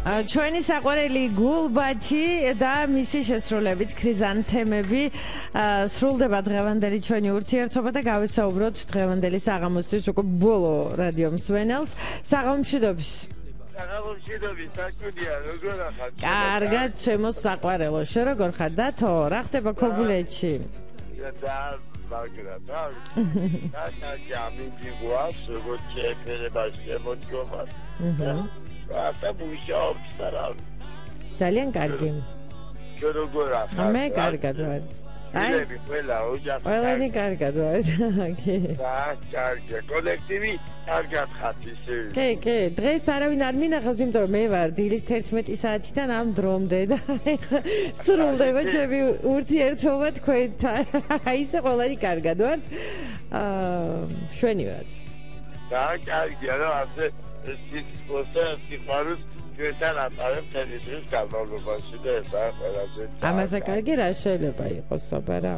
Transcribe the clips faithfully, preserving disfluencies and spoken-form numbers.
ჩვენი საყვარელი გულბათი და მისი შესრულებით ქრიზანთემები სრულდება დღევანდელი ჩვენი ურთიერთობა და გავისაუბროთ დღევანდელი საღამოსთვის უკვე ბოლო რადიო მსმენელს. საღამომშვიდობის. საღამომშვიდობის, საკუდია, როგორ ახალ? კარგად, ჩემო საყვარელო, შენ როგორ ხარ და თო, რა ხდება ქობულეთში? და მაგრამ და და ჯამინდი გვას, როგორ შეფერება შემოდგომა. აჰა. და მუშაობს და ძალიან კარგი. შენ როგორ ახალ? მე კარგად ვარ. აი, ყველა ოჯახი. ყველანი კარგად ვარ. და კარგი, კოლექტივი კარგად ხართ ისე. კი, კი, დღეს არავინ არ მინახავს, იმიტომ რომ მე ვარ დილის თერთმეტი საათიდან ამ დრომდე და სრულდება ჩემი ურთიერთობა თქვენთან. აი, ისე ყველანი კარგად ვართ. აა, შვენი ვარ. და კარგია, რა ასე სიტყვასა სიყვარულს ჩვენთან ატარებ თელი დღის განმავლობაში და ეს არის ყველაზე. ამაზე კარგი რა შეიძლება იყოს საბარა?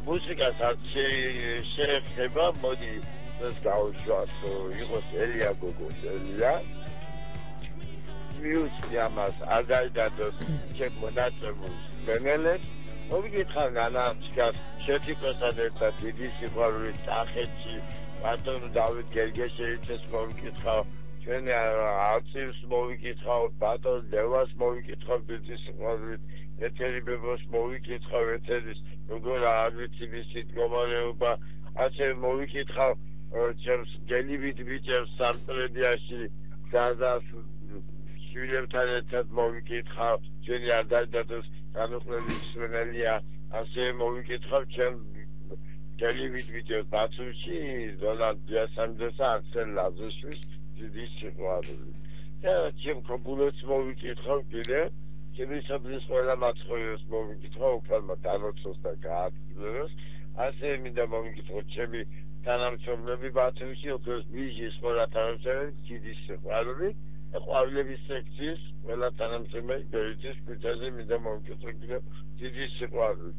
მუსიკას არ შეეხება, მოდი ეს გავუშვათ, იყოს ელია გოგოს ელია. მიუცი ამას არ გაიგადოს ჩემ მონაწილეებს მენელეს. მოგიკითხა განაჩქას შეთიკოსთან ერთად დიდი სიყვარულის წახეთში ბატონო დავით გერგეშელიძეს მოვიკითხავ, ჩვენ არცივს მოვიკითხავ, ბატონ ლევას მოვიკითხავ დიდი სიყვარულით, ეთერი ბებოს მოვიკითხავ, ეთერის როგორ არ ვიცი მისი მდგომარეობა, ასე მოვიკითხავ ჩემს გელივით ბიჭებს სამტრედიაში გაზას შვილებთან ერთად მოვიკითხავ, ჩვენი არ დაიდადოს განუყრელი მსმენელია, ასე მოვიკითხავ ჩემ გელივით ბიჭებს ბათუმში დონალდ დიასამდესა აქსელ ლაზიშვილს დიდი სიყვარული. და ჩემ ქობულებს მოვიკითხავ კიდე, ჩემი საბრძის ყველა მაცხოიოს მოვიკითხავ, უფალმა დანოცოს და გააკეთოს. ასე მინდა მოვიკითხოთ ჩემი თანამშრომლები ბათუმში, ოქროს ბიჟის ყველა თანამშრომელი დიდი სიყვარული. ყვავილების სექციის ყველა თანამშრომელი ბერეთის ქუჩაზე მინდა მოვიკითხოთ კიდე დიდი სიყვარული.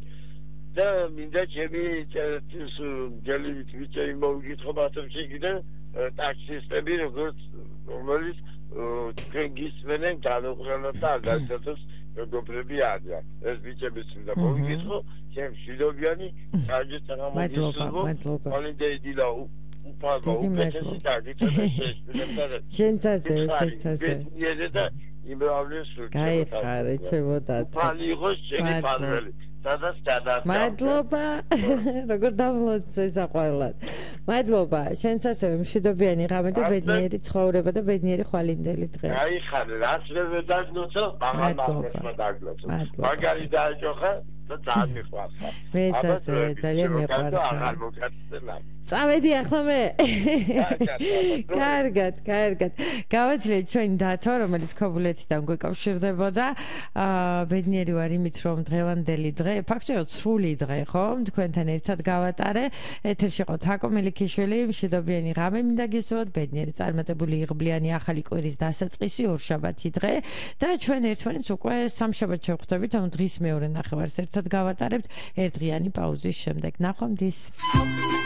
და მინდა ჩემი წერტის გელივით ბიჭები მოვიკითხო ბათუმში კიდე ტაქსისტები როგორც რომელიც თქვენ გისმენენ განუყრელად და აგაცეთოს მეგობრები არიან. ეს ბიჭებიც მინდა მოვიკითხო, ჩემ მშვიდობიანი კარგი საღამომშვიდობა. მოლინდა იდილა უფალმა უკეთესი დაგიწევს შეშფილებდა. შენც ასე, შენც ასე. და იმრავლეს გაიხარე ჩემო დათო. უფალი იყოს შენი პარველი. სადაც გადაწყდა. მადლობა. როგორ დავმლოცე საყვარლად. მადლობა. შენც ასევე მშვიდობიანი ღამე და ბედნიერი ცხოვრება და ბედნიერი ხვალინდელი დღე. გაიხარე, რაც მე დაგნოცო, მაგალ მაგალმა დაგნოცო. მაგარი დაიჭოხა და ძალიან მიყვარს. მეც ასევე ძალიან მიყვარს. აღარ მოგაცელა. წავედი ახლა მე. კარგად, კარგად. გავაძლევთ ჩვენი დათო, რომელიც ქობულეთიდან გვეკავშირდებოდა. აა ბედნიერი ვარ იმით, რომ დღევანდელი დღე, ფაქტობრივად სრული დღე, ხო? თქვენთან ერთად გავატარე. ეთერში იყო თაკო მელიქიშვილი, მშვიდობიანი ღამე მინდა გისურვოთ, ბედნიერი წარმატებული იღბლიანი ახალი კვირის დასაწყისი ორშაბათი დღე და ჩვენ ერთმანეთს უკვე სამშაბათს შევხვდებით, ამ დღის მეორე ნახევარს ერთად გავატარებთ ერთდღიანი პაუზის შემდეგ. ნახვამდის.